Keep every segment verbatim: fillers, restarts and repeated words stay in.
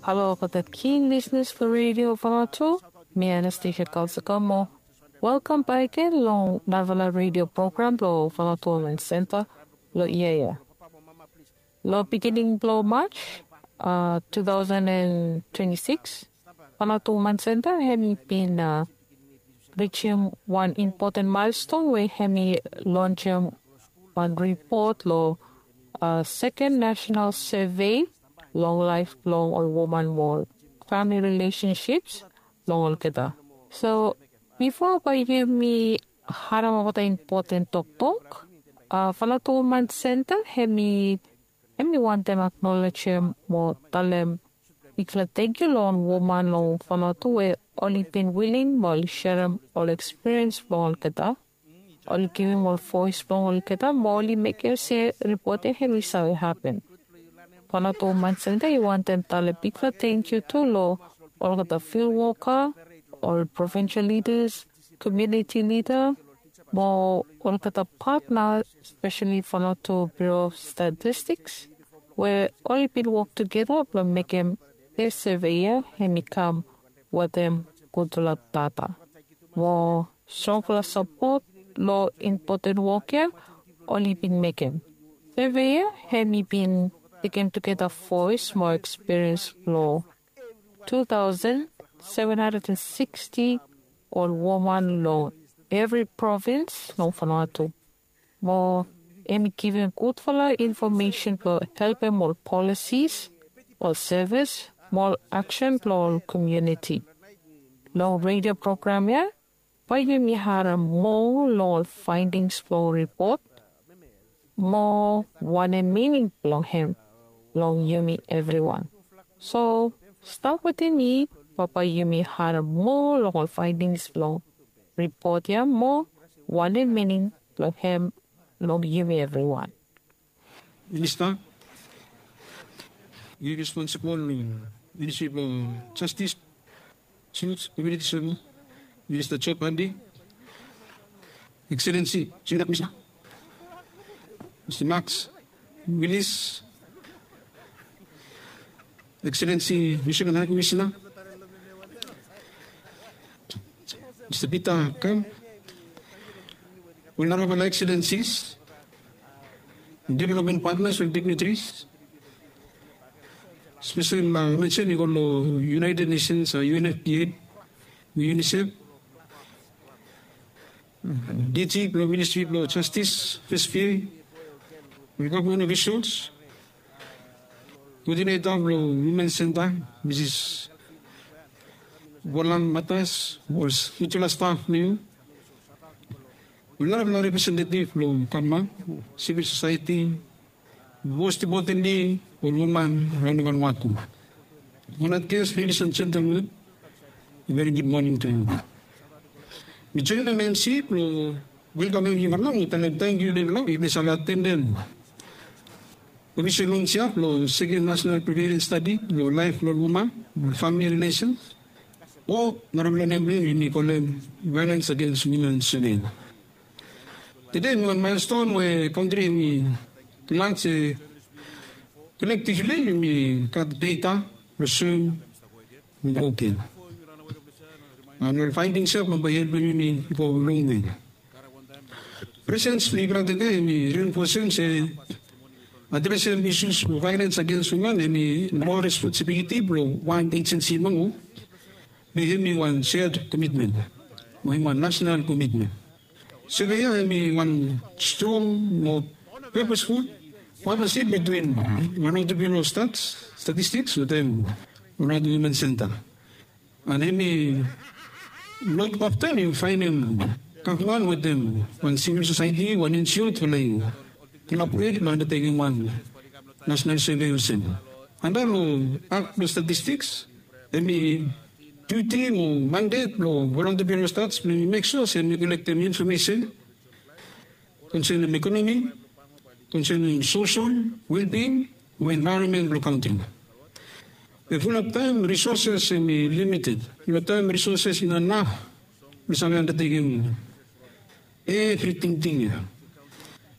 Halo olgeta king lisenas blong redio Vanuatu. Mi Anastasia Kalsakamo. Welkam bak gen long narafala redio program blong Vanuatu Women Center long yia ya. Long beginning blong March uh, two thousand and twenty-six, Vanuatu Women Center hem i bin uh, reachim wan important milestone we hem i launchim wan report long uh, second national survey long life blong ol woman mo family relationships blong olgeta. So before bae yumi harem olgeta important toktok, uh, Vanuatu Women Center hem i hem i wantem aknolejem mo talem bigfala tangkiu long ol woman long Vanuatu we oli bin willing mo oli serem ol ekspiriens blong olgeta. Oli givim ol voes blong olgeta mo oli mekem se ripot ya hem i save hapen. Vanuatu Women Center i wantem talem bigfala tangkiu tu long olgeta field woka, ol provincial leaders, community leader, mo olgeta patna, especially Vanuatu Bureau of Statistics, we oli bin wok tugeta blong mekem this survey ya hem i kam wetem gudfala data. Mo strongfala sapot long important wok ya oli bin mekem. Survey ya hem i bin tekem tugeta voes mo ekspiriens blong two thousand seven hundred and sixty ol woman long evri provins long Vanuatu. Mo hem i givim gudfala infomesen blong helpem ol policies, ol sevis mo ol aksen blong ol komuniti. Long redio program ya bae yumi harem moa long ol faedings blong ripot mo wanem mining blong hem long yumi evriwan. So stap wetem mi, bae yumi harem moa long ol faedings blong ripot ya mo wanem mining blong hem long yumi evriwan. Minista, yu responsibol long ministri blong jastis, Sils, komiuniti sevis, Minista Job Andi, Ekselensi Junior Komisina, Mista Maks Wilis, Ekselensi Michigan High Komisina, Mista Pita Kam, ol narafala ekselensis, development partners ol dignitaries, spesel mensen i go long United Nations, UNFPA, UNICEF, DG blong Ministri blong Jastis, FSPA, ol gavman ofisals, koodineta blong Women Center, Misis Volan Matas, ol spiritual staf blong yu, ol narafala representetiv blong gavman, sivil sosaeti, most importantly ol woman raon long Vanuatu. Honored guests, ladies and gentlemen, a very good morning to you. Mi join MMC blong welkamem yufala mo talem tangkiu long yufala we yufala save atendem ofisol lons ya blong second national prevalence study blong laef blong woman, family relations, o narafala nem blong yumi kolem violence against women survey. Tede hemi wan milestone we kantri hemi glad se kolektivli yumi gat data blong soem. Oke. An ol faedings ya bae helpem yumi go longwe. Presens blong yufala tede hemi rinfosem se adresem isus blong violence against women hemi moral responsibiliti blong wan ejensi nomo. Be hemi wan shared commitment, mo hemi wan national commitment. Survey ya hemi wan strong mo purposeful partnership between Vanuatu Bureau of Stats, Statistics wetem Vanuatu Women Center. An hemi luk afta, hemi faenem gavman wetem wan civil society, wan NGO blong collaborate blong undertaking wan national survey olsem. Anda long Act blong Statistics, hemi duty mo mandate blong Vanuatu Bureau of Stats blong yumi mek sua se yumi kolektem infomesen konsenem ekonomi, konsenem sosol, well-being mo envaeronmen blong kantri. Be fulap taem risoses hemi limited. Fulap taem risoses i no inaf blong save andatekem evri tingting ya.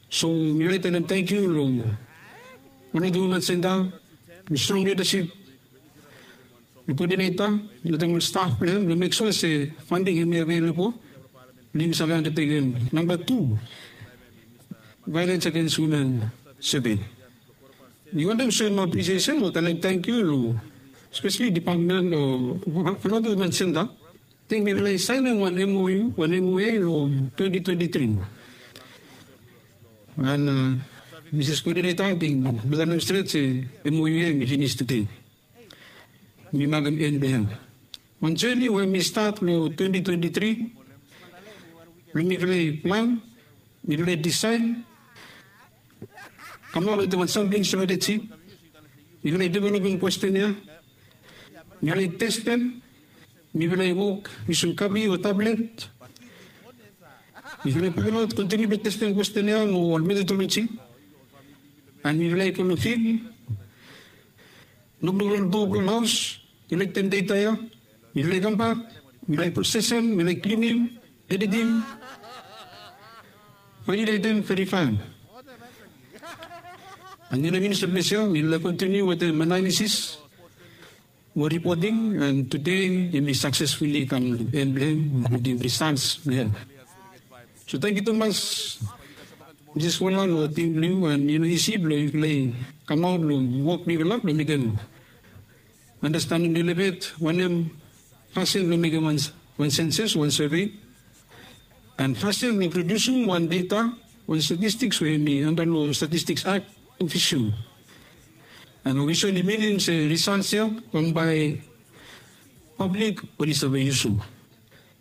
So mi wantem talem tangkiu long Vanuatu Women Center, long strong lidasip koodineta wetem ol staf blong hem blong mek sua se fanding hemi avelebol blong yumi save andatekem namba tu violens agens wimen sevei. Mi wantem soem apresiesen o talem tangkiu long spesali dipatmen o fanoto wimen senta. Ting mifala i saenem wan mou wan mou long twenti twenti tri. An misis koodineta, ting mifala i stret se mou ya i finis tude. Mi makem en blong hem. Wan joni we mi stat long twenti twenti tri blong mifala i plan, mifala i disaed, kamaot wetem wan samting strateji. Mifala i developem kwesten ya, mifala i testem, mifala i wok yusum kapi o tablet. Mifala i pailot kontiniu blong testem kwesten ya long ol metodoloji. An mifala i go long fil, lukluk long dua blong haos, kolektem deta ya. Mifala i kambak, mifala i prosesem, mifala i klinim, editim, validetem, verifaem. An yumi no finis long ples ya, mifala i kontiniu wetem analisis mo ripoting, an tude yumi saksesfuli kam long en blong hem wetem risalts blong hem. So tangkiu tumas, Misis Wela, long tim blong yu. An i no isi blong yufala i kamaot long wok blong yufala blong mekem andastanem lelebet wanem fasin blong mekem wan senses, wan sevei, an fasin blong produsim wan deta, wan statistiks we hemi anda long Statistiks Akt ofisol. An ofisol i minim se risalts ya bambae pablik oli save yusum.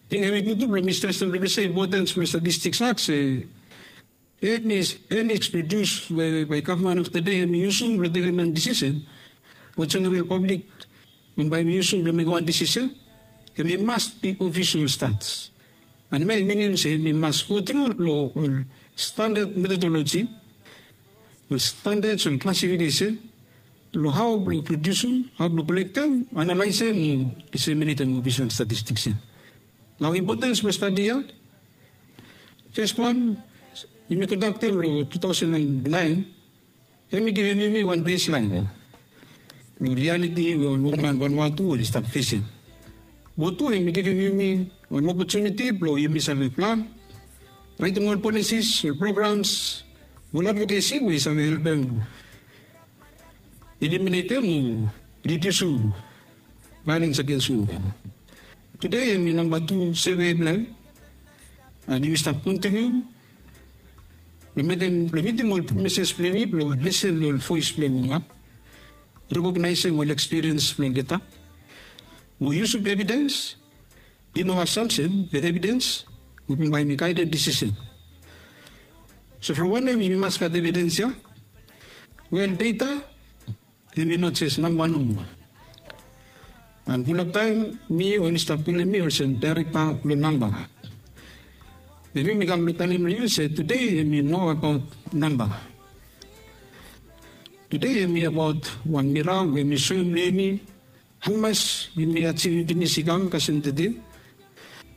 Ting hemi gud tu blong mi stresem blong mi se impotens blong Statistiks Akt se eni, eni produs we bae gavman of the day hemi yusum blong tekem wan disisen, we jeneral pablik bae hemi yusum blong mekem wan disisen, hemi mas bi ofisol stats. An hemia i minim se hemi mas go tru long ol standad metodoloji, ol standad, ol klasifikesen long hao blong produsim, hao blong kolektem, analaesem, diseminetem ofisol statistiks ya. Nao impotens blong stadi ya, fes wan, yumi kondaktem long tu taosen naen, hemi givim yumi wan beslaen long rialiti we ol wokman Vanuatu oli stap fesem. Mo tu hemi givim yumi wan opotuniti blong yumi save plan, raetem ol polisis, ol programs, ol advokesi we i save helpem iliminetem o ridiusim vaelens agens wimen. Tude hemi namba tu sevei blong hem, an yumi stap kontiniu blong mekem, blong mitim ol promises blong yumi blong lisen long ol voes blong yumi, rekognaesem ol ekspiriens blong olgeta, mo yusum evidens, i no asamsen, be evidens we bambae hemi gaedem disisen. So from wanem yumi mas gat evidens ya? Wel, deta hemi no jes namba nomo. An fulap taem mi oli stap kolem mi olsem daerekta blong namba. Be mi mi kam blong talem long yu se tude hemi no abaot namba. Tude hemi abaot wan mira we mi soem long yumi hamas yumi ajivim finis i kam kasem tude,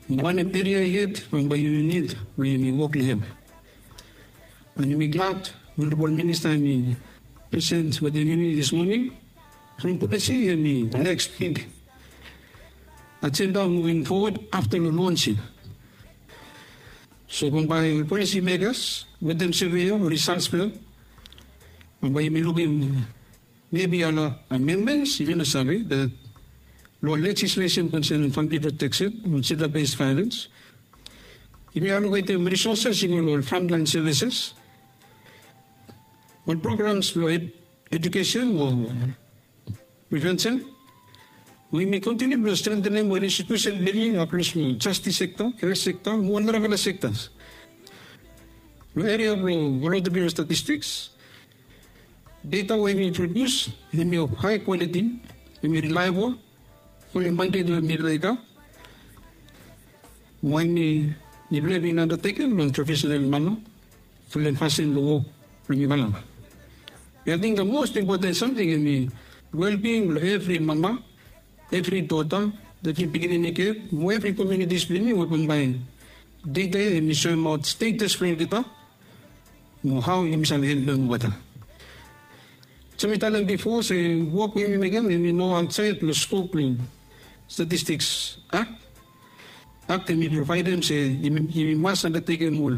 mo wanem eria yet we bae yumi nid blong yumi wok long hem. An yumi glad Honorable Minister hemi present wetem yumi dis moning. From polisi hemi neks big ajenda moving forward afta long lons ya. So bambae ol polisi mekas wetem sevei ya, ol risalts blong hem, bambae yumi lukim mebi ol amendments, yumi no save, be long lejislesen konsenem famili proteksen, long jenda bes vaelens, yumi aloketem risoses i go long frontlaen sevises, ol programs blong ed-, ejukesen o prevensen. Yumi kontiniu blong strengtenem ol institusen blong yumi akros long jastis sekta, helt sekta, mo ol narafala sektas. Long eria blong volontia blong statistiks, deta we yumi produs hemi of hae kwaliti, hemi rilaebol, fulem mandeit we yumi laik, mo hemi, yumi laik andatekem long profesenal mana, fulem fasin blong wok blong yumi. Be ating the most important samting hemi welbing blong evri mama, evri dota, evri pikinini ked, mo evri komunitis blong yumi we bambae deta ya hemi soemaot stetas blong olgeta, mo hao yumi save helpem olgeta. So mi talem bifo se wok we yumi mekem hemi no aotsaed long skop blong Statistics Act. Act hemi provaedem se yumi mas andatekem ol,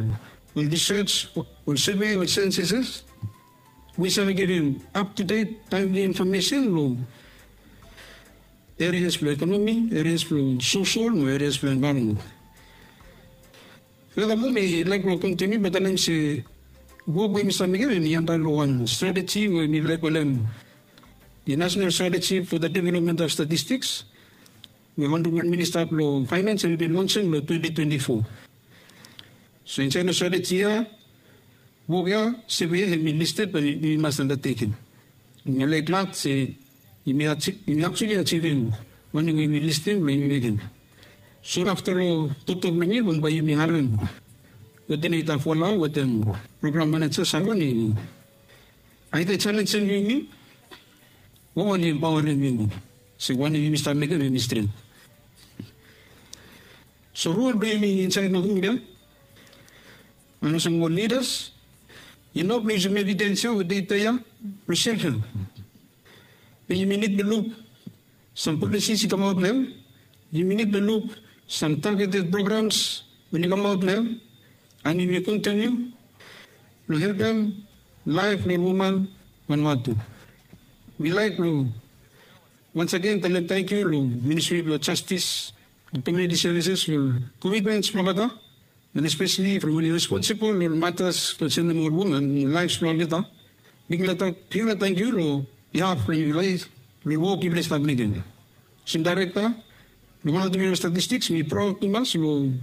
ol research, ol survey, ol censuses we save givim up to date, timely information long areas blong economy, areas blong social mo areas blong environment. Furthermore, mi laik blong kontiniu blong talem se wok we mi save mekem hemi anda long wan strategy we mi laik kolem the National Strategy for the Development of Statistics, we Honorable Minister blong Finance hemi bin lonsem long twenty twenty-four. So insaed long strategy ya, wok ya, survey ya hemi listed blong yumi mas andatekem. Mi laik glad se yumi actually ajivim wanem we yumi listem blong yumi mekem. So afta long toktok blong mi, bae yumi harem wetem Ita Folau wetem program manager Simon i aida jalenjem yumi o oli empaorem yumi se wanem yumi stap mekem hemi stret. So rol blong yumi insaed long rum ya, and olsem ol lidas, i no blong yusum evidens ya o data ya blong shelfem. Be yumi nid blong luk sam policies i kamaot nao. Yumi nid blong luk sam targeted programs we oli kamaot nao, and yumi kontiniu blong helpem laef blong woman Vanuatu. Mi laek blong once again talem tangkiu long Ministry blong Justice and Community Services long komitments blong olgeta, and especially from oli responsible long matas konsenem ol woman, laef blong olgeta. Bigfala tangkiu long bihaf blong yufala long wok yufala i stap mekem. Olsem daerekta blong Vanuatu Bureau of Statistics, mi praod tumas long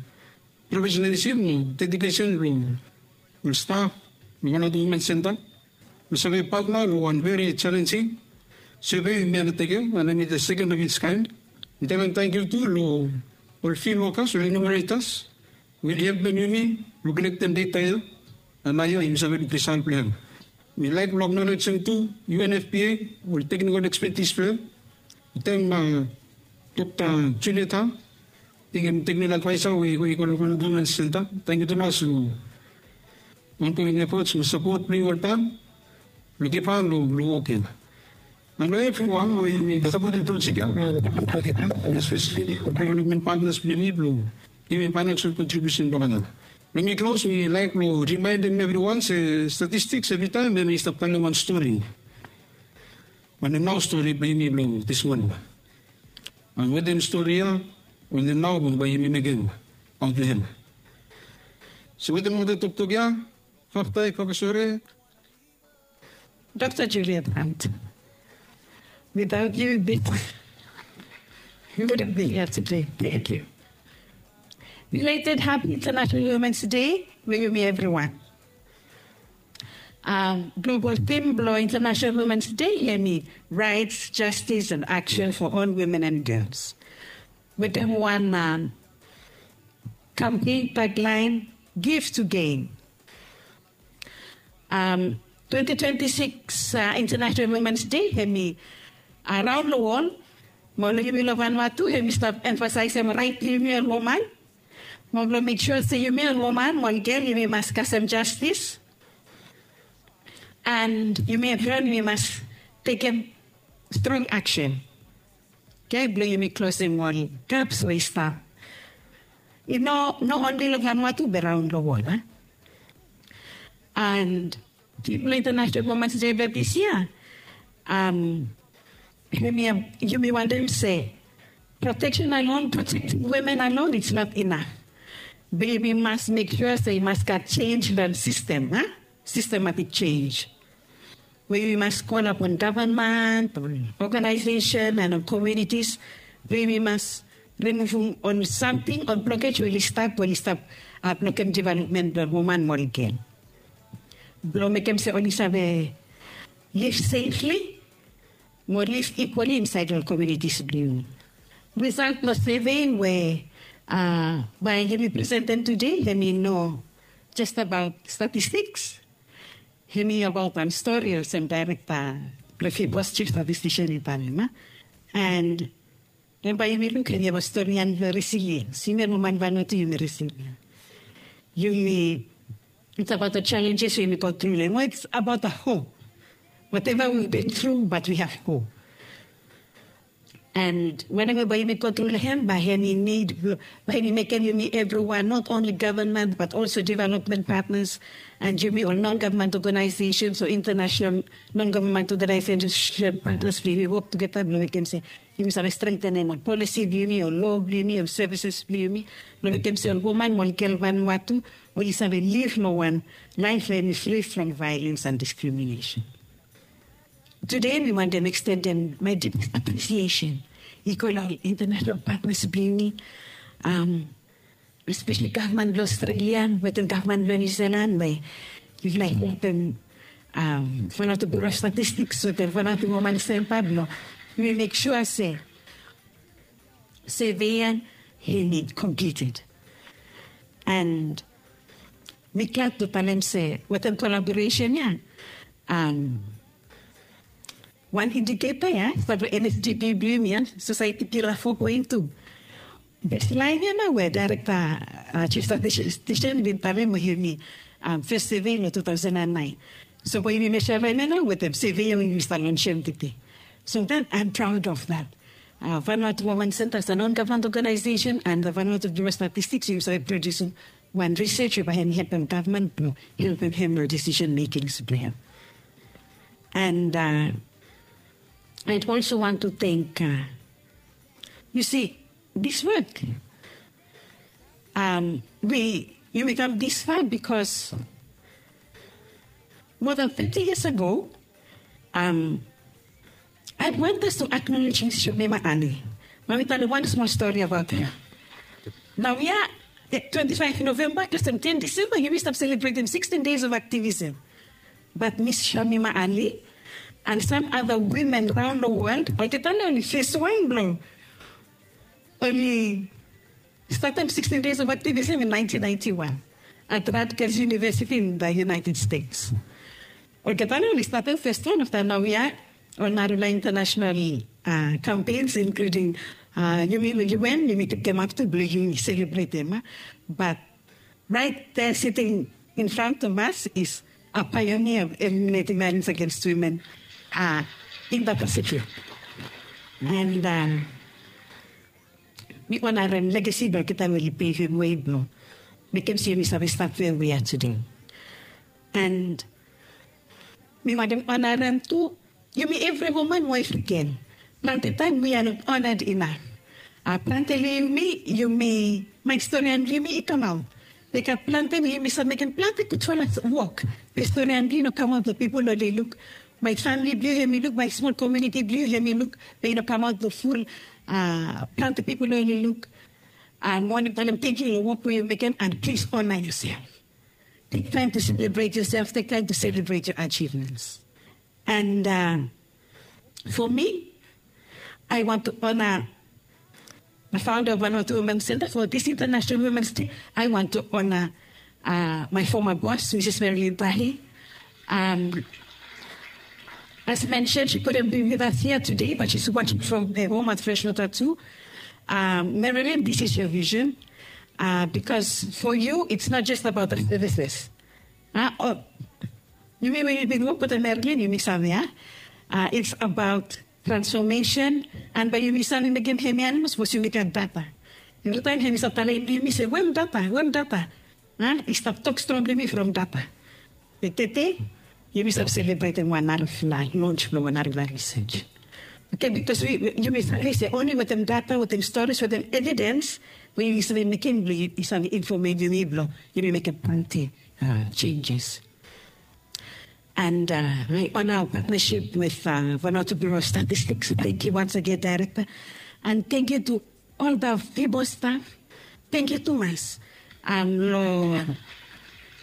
professionalism mo dedication blong ol staf blong Vanuatu Women Centre. Mi save patna long wan very challenging survey we mi andatekem, and hemi the second of its kind. Mi talem tangkiu tu long ol field workers, ol enumerators we oli helpem yumi blong kolektem data ya, and naoia yumi save luk risaot blong hem. Mi laek blong aknolejem tu U N F P A, ol teknikol ekspetis blong hem, wetem Dokta Juliet Hang, i hem teknikol advaesa we i go long Women Centre. Tangkiu tumas long ongoing efforts mo sapot blong yu oltaem long givhan long wok ya. And long evriwan we i sapotem projek ya, especially development partners blong yumi blong givim financial contribution blong olgeta. Blong mi klos, mi laek blong rimaendem evriwan se statistiks evritaem hemi stap talem wan stori. Wanem nao stori blong yumi blong this morning? And wetem stori ya, wetem nao bae yumi mekem aot long hem. So wetem olgeta toktok ya, faktae, fakasore, Dokta Juliet Hang. Without you, this, we wouldn't be here today. Thank you. Belated Happy International Women's Day blong yumi evriwan. Global theme blong International Women's Day hemi Rights, Justice and Action for All Women and Girls. Wetem wan campaign tagline, Give to Gain. Twenty twenty-six International Women's Day hemi raon long wol, mo long yumi long Vanuatu hemi stap emfasaesem raet blong yumi ol woman, mo blong mek sua se yumi ol woman mo ol gel yumi mas kasem jastis, and yumi evriwan yumi mas tekem strong aksen, oke, blong yumi klosem ol gaps we i stap. I no, no only long Vanuatu be raon long wol, a? And theme blong International Women's Day blong this year, yumi wantem se protection alone, protecting women alone, it's not enough. Be yumi mas mek sua se i mas gat jenj long sistem, a? Sistematik jenj. We yumi mas kol apon gavman, ol oganaesesen and ol komunitis, we yumi mas rimuvum ol samting, ol blokej we oli stap, we oli stap blokem developmen blong woman mo ol gel, blong mekem se oli save liv sefli mo liv ikwali insaed long komunitis blong yumi. Risaot blong survey we bae yumi presentem tede, hemi no jes abaot statistiks. Hemi abaot wan stori olsem daerekta blong Fibos, Chief Statistician, i talem, a? And hemia bae yumi luk hemi abaot stori ya blong resiliens. Yumi ol woman Vanuatu yumi resilien. Yumi, it's about the challenges we yumi go through long, it's about the hope. Whatever we've been through, but we have hope. And whenever bae yumi go through hem, bae hemi need, bae hemi mekem yumi evriwan, not only government but also development partners and yumi ol non-government organizations o international non-government organization partners, we work together blong mekem se yumi save strengthenem ol policy blong yumi, ol law blong yumi, ol services blong yumi, blong mekem se ol woman mo ol gel Vanuatu oli save liv long wan life we hemi free from violence and discrimination. Today mi wantem extendem my deepest appreciation i go long international partners blong yumi, um, especially gavman blong Australia wetem gavman blong New Zealand we yufala i helpem, um, Vanuatu Bureau of Statistics wetem Vanuatu Women Centre blong yumi make sure se survey ya hemi completed. And mi glad blong talem se wetem collaboration ya, um, wan indicator ya, stap long N S D P blong yumi ya, society pillar four point two. Baseline ya nao we director, uh, chief statistician bin talem we hemi, um, first survey long two thousand and nine. So bae yumi measurem ya nao wetem survey ya we yumi stap lonsem tede. So then I'm proud of that. Uh, Vanuatu Women Centre as a non-government organization and the Vanuatu Bureau of Statistics, yumi save produce wan research we bae hemi helpem gavman blong helpem hem long decision makings blong hem. And, uh, I'd also want to thank, uh, you see, this work, um, we, yumi kam this far because more than thirty years ago, um, I want us to acknowledge Miss Shamima Ali. Mak mi talem wan small story about her. Nao ya, twenty-five November kasem ten December yumi stap selebretem sixteen days of activism. But Miss Shamima Ali and some other women raon long wol olgeta nao oli fes wan blong oli statem sixteen days of activism in nineteen ninety-one at Rutgers University in the United States. Olgeta nao oli statem fes wan afta nao ya ol narafala international, uh, campaigns including, uh, yumi long U N, yumi tekem ap tu blong yumi selebretem, uh, but right there sitting in front of us is a pioneer of eliminating violence against women, uh, in the Pacific. And, uh, mi onarem legacy blong olgeta we oli pevem wei blong mekem se yumi save stap we we are today. And mi wantem onarem tu yumi evri woman, waef, gel. Plante taem we are not honored enough. Uh, plante long yumi, yumi, maet storian blong yumi i kamaot. Like, uh, plante we yumi save mekem plante gudfala wok. Be storian blong yumi i no kamaot long pipol oli luk. Maet famili blong yumi i luk, maet smol komuniti blong yumi i luk. Be i no kamaot long ful, uh, plante pipol oli luk. And mi wantem talem tangkiu long wok we yu mekem, and please honor yourself. Take time to celebrate yourself. Take time to celebrate your achievements. And, uh, for me, I want to honor the founder of Vanuatu Women's Center for this International Women's Day. I want to honor, uh, my former boss, Missus Marilyn Tahi. Um, as mentioned, she couldn't be with us here today, but she's watching from her home at Freshwater too. Um, Marilyn, this is your vision. Uh, because for you, it's not just about the services. Uh, oh, yumi we yumi wok wetem Marilyn, yumi save, uh, it's about transformation. And bae yumi save mekem hemi animals, sapos yumi gat data. Evritaem hemi save talem yumi se, "Wea mi data? Wea mi data?" Uh, i stap tok strong blong yumi from data. Be tede yumi save selebretem wan narafala launch blong wan narafala research. Okay, because we, we, yumi save se only wetem data, wetem stories, wetem evidence we yumi save mekem blong yumi save informem yumi blong yumi mekem plante, uh, changes. And, uh, I honor our partnership with, uh, Vanuatu Bureau of Statistics. Thank you once again, Director. And thank you to all the Vibo staff. Thank you tumas, um, long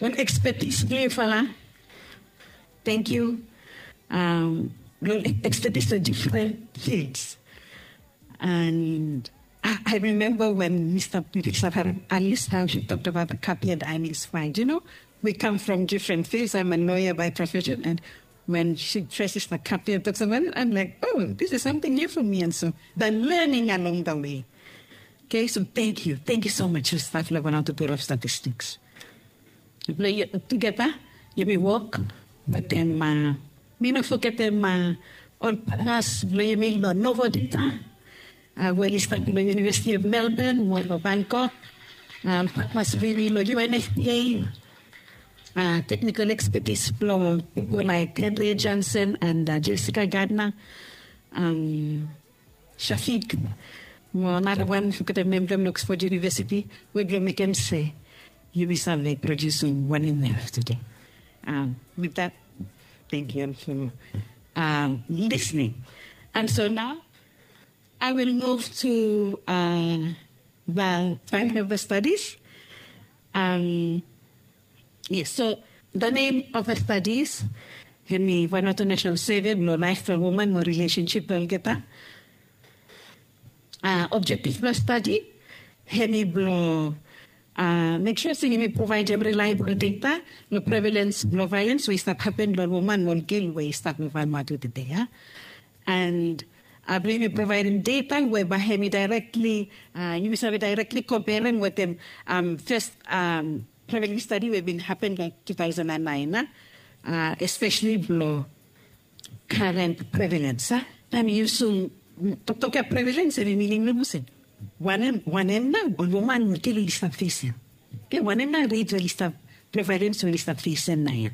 ol expertise blong yufala. Thank you, um, long expertise long different fields. And I, I remember when Mister Purisa Alice, how she talked about the Capian Islands find. You know, we come from different fields. I'm a lawyer by profession, and when she traces the Capian, talks about it, I'm like, "Oh, this is something new for me." And so the learning along the way. Okay, so thank you. Thank you so much, staff level, Vanuatu Bureau of Statistics. Blong yu, tugeta, yumi wok wetem, uh, Mi no fogetem ol partners blong yumi long Novo Data, we oli stap long University of Melbourne mo long Bangkok. Ol partners blong yumi long U N F P A, technical expertise blong pipol laek Henry Johnson and Jessica Gardner, Shafiq, mo nara wan, mi fogetem nem blong hem, long Oxford University, we blong mekem se yumi save produsum wanem we yu have tede. With that, thank you for listening. And so now I will move to the title of the studies. Yes, so the name of the studies hemi Vanuatu National Survey blong laef blong woman mo relationship blong olgeta. Objective blong stadi hemi blong mek sua se yumi provaedem reliable data long prevalence blong violence we i stap hapen long woman mo ol gel we i stap long Vanuatu tede ya. And blong yumi provaedem data we bae hemi directly, yumi save directly komperem wetem fes prevalence stadi we bin hapen long two thousand and nine, especially blong current prevalence. Taem yu yusum toktok ya prevalence, hemi minim long olsem wanem, wanem nao ol woman mo gel oli stap fesem? Ke wanem nao rate we oli stap, prevalence we oli stap fesem naoia?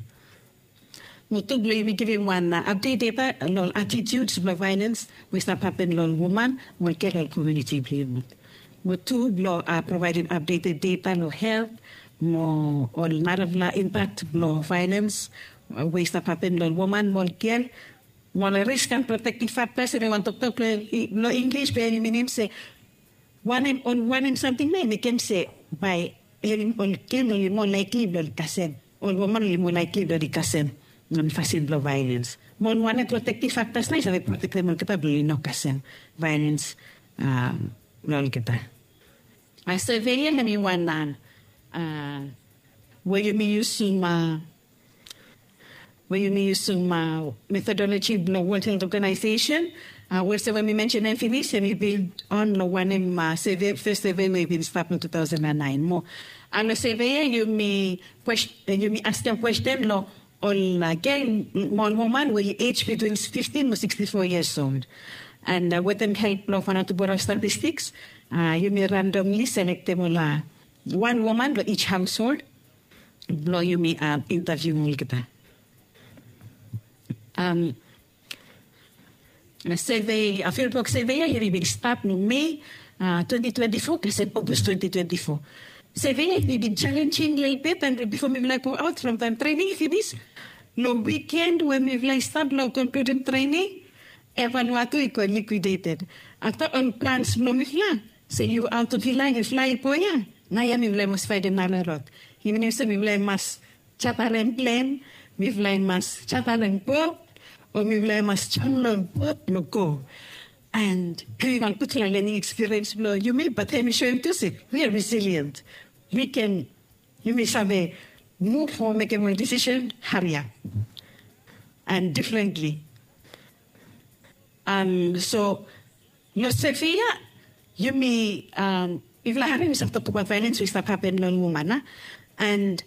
Mo tu blong yumi givim wan update data long attitudes blong violence we i stap hapen long woman mo gel long komuniti blong yumi. Mo tu blong provaedem updated data long health mo ol narafala impact blong violence we i stap hapen long woman mo gel, mo ol risk and protective factors, hemi wan toktok long English be hemi minim se wanem, ol wanem samting nao i mekem se bae ol gel oli moa likely blong oli kasem, ol woman oli moa likely blong oli kasem long fasin blong violence. Mo ol wanem protective factors nao i save protektem olgeta blong oli no kasem violence long olgeta. Survey ya hemi wan we yumi yusum, we yumi yusum methodology blong World Health Organization. We olsem we mi mensenem finis, hemi build on long wanem survey, fes survey we i bin stap long two thousand and nine mo. And long survey ya yumi askem kwesten long ol gel mo ol woman we oli age between fifteen mo sixty-four years old. And wetem help blong Vanuatu Bureau of Statistics, yumi randomly selektem ol wan woman long each household blong yumi interview olgeta. Survey, fieldwork survey ya hemi bin stap long May twenty twenty-four kasem August twenty twenty-four. Survey ya hemi bin challenging lelebet, and bifo mifala i go aot from taem training i finis, long weekend we mifala i stap long concluding training, Vanuatu i go liquidated. Afta ol plans blong mifala se yu aot of line, yufala i go ya, naoia mifala i mas faedem nara rod. I minim se mifala i mas jatarem plen, mifala i mas jatarem bot, o mifala i mas jam long bot blong go. And hemi wan gudfala learning experience blong yumi, but hemi soem tu se we are resilient. We can, yumi save move o mekem ol decision hariap and differently. So long survey ya yumi, mifala harim i stap toktok abaot violence we i stap hapen long woman, a? And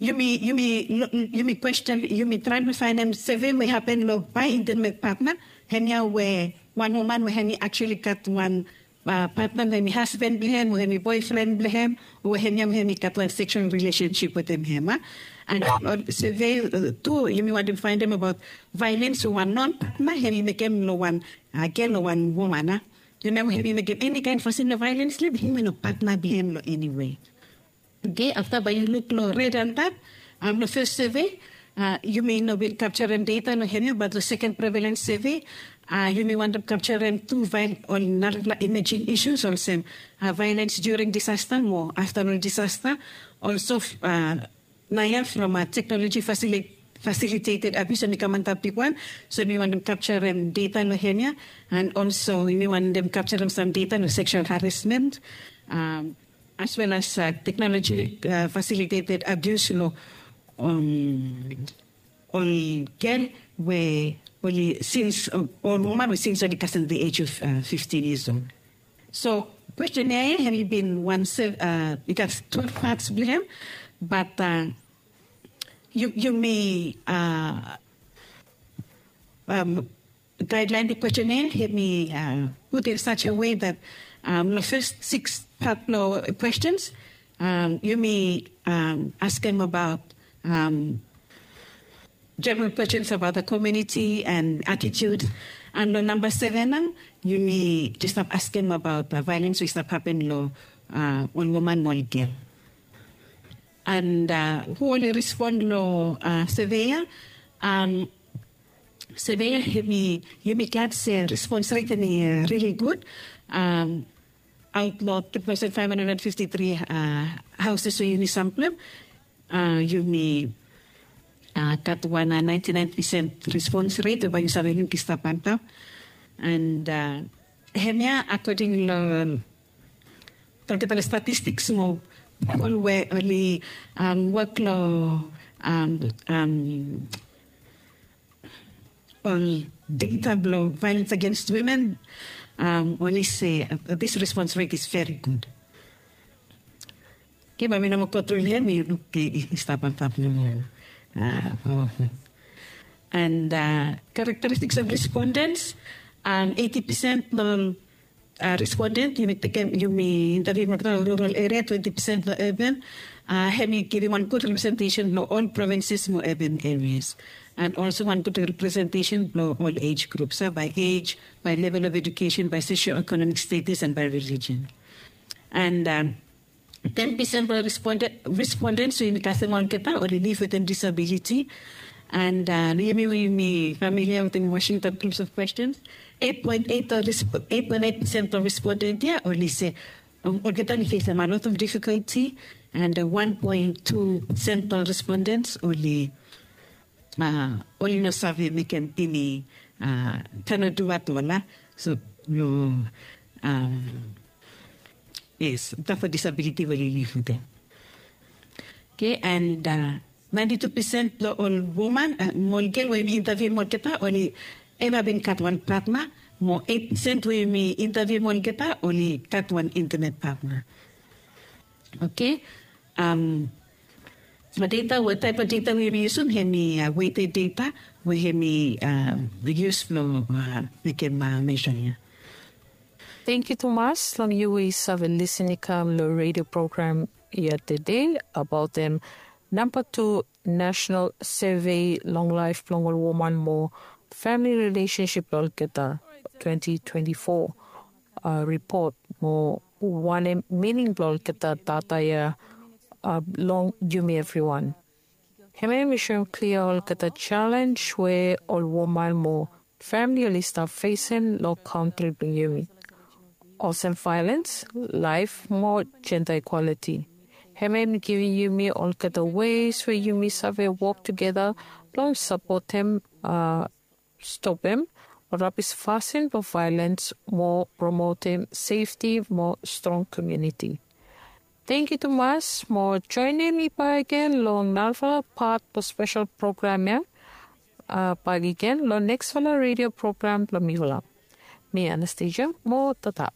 yumi, yumi, yumi kwesten, yumi traem blong faenem survey we i hapen long bae intimate partner, hemia we wan woman we hemi actually gat wan partner we hemi hasban blong hem o hemi boefren blong hem, o hemia we hemi gat wan sexual relationship wetem hem, a? And survey tu yumi wantem faenem abaot violence we wan non partner hemi mekem long wan gel o wan woman, a? Yu no, hemi mekem eni kaen fasin long violence long hem we no partner blong hem long eni wei. Oke, afta bae yu luk long red antap, long fes survey yumi no bin kapjarem data long hemia, bat long seken prevalence survey yumi wantem kapjarem tu ol narafala emerging issues olsem violence during disaster mo afta long disaster. Also naoia from technology facilitated abuse hemi kam antap bigwan. So yumi wantem kapjarem data long hemia, and also yumi wantem kapjarem sam data long sexual harassment, as well as technology facilitated abuse long ol gel we oli since, ol woman we since oli kasem the age of fifteen years old. So kwesten ia hemi bin wan, i gat twelve parts blong hem, bat yumi, um, guideline the questionnaire, hemi uh, put in such a way that um, the first six part of questions, um, yumi um, ask them about um, general questions about the community and attitude. And the number seven, um, yumi just have ask them about the violence which have happened lo uh, on woman mo girl. And uh, who only respond lo uh, surveyor, um, Sevea, yumi, yumi gat se response rate hemi uh, really good. Um, out lo two thousand five hundred fifty-three uh, houses we yumi sample, uh, yumi uh, gat wan uh, ninety-nine percent response rate we bae yu save luk i stap antap. And uh, hemia according lo toketara statistics mo ol we oli um, work lo um, um, ol data blo violence against women, um, oli se uh, this response rate is very good. Ke bae mi no moa go through hia, mi luk i stap antap nomo. And uh, characteristics of respondents, um, eighty percent lo uh, respondent, yumi tekem, yumi interview from rural area, twenty percent lo urban. Uh, hemi givim wan good representation lo all provinces mo urban areas. And also wan good representation lo all age groups, uh, by age, by level of education, by socio-economic status, and by religion. And um, ten percent of respondent, respondents we yumi kasem olgeta oli live with a disability. And uh, yumi, we yumi familiar with the Washington groups of questions. Eight point eight of resp- eight point eight percent of respondent ia oli se um, olgeta oli face a lot of difficulty. And uh, one point two percent of respondents oli uh, oli no save mekem eni uh, tano du at all. So no um, yes, that for disability we oli live with them. Okay, and uh, ninety-two percent lo ol woman uh, mo ol girl we yumi interview mo olgeta oli eva bin gat wan partner, mo eight percent we yumi interview mo olgeta oli gat wan intimate partner. Okay. Um, data, what type of data we yumi yusum? Hemi uh, weighted data we hemi uh, use lo uh, mekem uh, measure ia. Thank you tumas long yu we save lisin i kam lo radio program ia today about them number two national survey long life blong ol woman mo family relationship lo olgeta twenty twenty-four uh, report mo wanem meaning blo olgeta data ia uh, long yumi everyone. Hemia mi soem klia olgeta challenge we ol woman mo family oli stap facing lo country blong yumi. Olsem violence, life mo gender equality. Hemia mi givim yumi olgeta ways we yumi save work together long supportem uh, stopem ol rabis fasin blong violence mo promotem safety mo strong community. Thank you tumas mo joinim mi bakegen long narafala pat blong special program ia uh, bakegen long nexfala radio program blong mifala. Mi Anastasia mo tata.